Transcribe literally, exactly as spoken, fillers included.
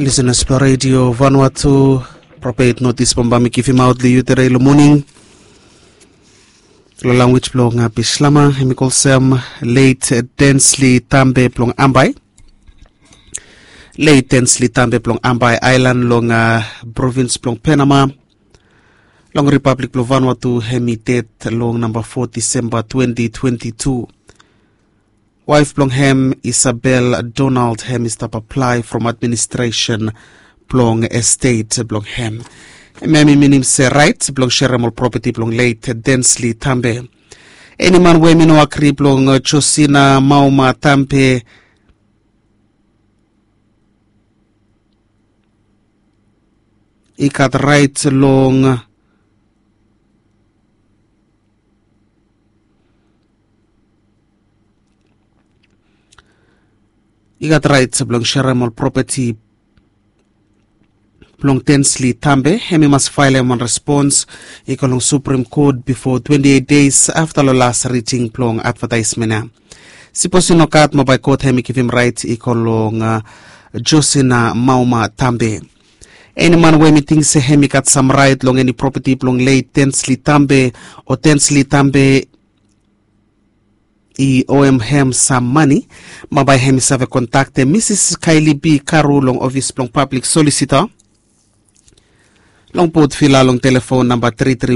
Lisenas blong redio Vanuatu, propet notis bambae mi givimaot long yu tude long moning. Long lanwis blong Bislama, hem i kolsem leit Densli Tambe blong Ambae. Leit Densli Tambe blong Ambae Aelan long provins blong Penama, long Ripablik blong Vanuatu, hem i ded long namba fo Disemba twenti twenti tu. Waef blong hem, Isabel Donald, hem i stap aplae from administresen blong estet blong hem. Hem i minim se raet blong serem ol propeti blong leit Densli Tambe. Eni man we hem i no agri blong Josina Mauma Tambe, i gat raet long i gat raet blong serem ol propeti blong Densli Tambe, hem i mas faelem wan respons i go long Suprem Kot bifo twenti eit deis afta long las riding blong advataesmen ya. Sipos i no gat, mo bae kot hem i givim raet i go long Josina Mauma Tambe. Eni man we hem i ting se hem i gat sam raet long eni propeti blong leit Densli Tambe, o Densli Tambe i oem hem sam mane, mo bae hem i save kontaktem Misis Kaeli B Karu long ofis blong pablik solisita long Potvila long telefon namba tri tri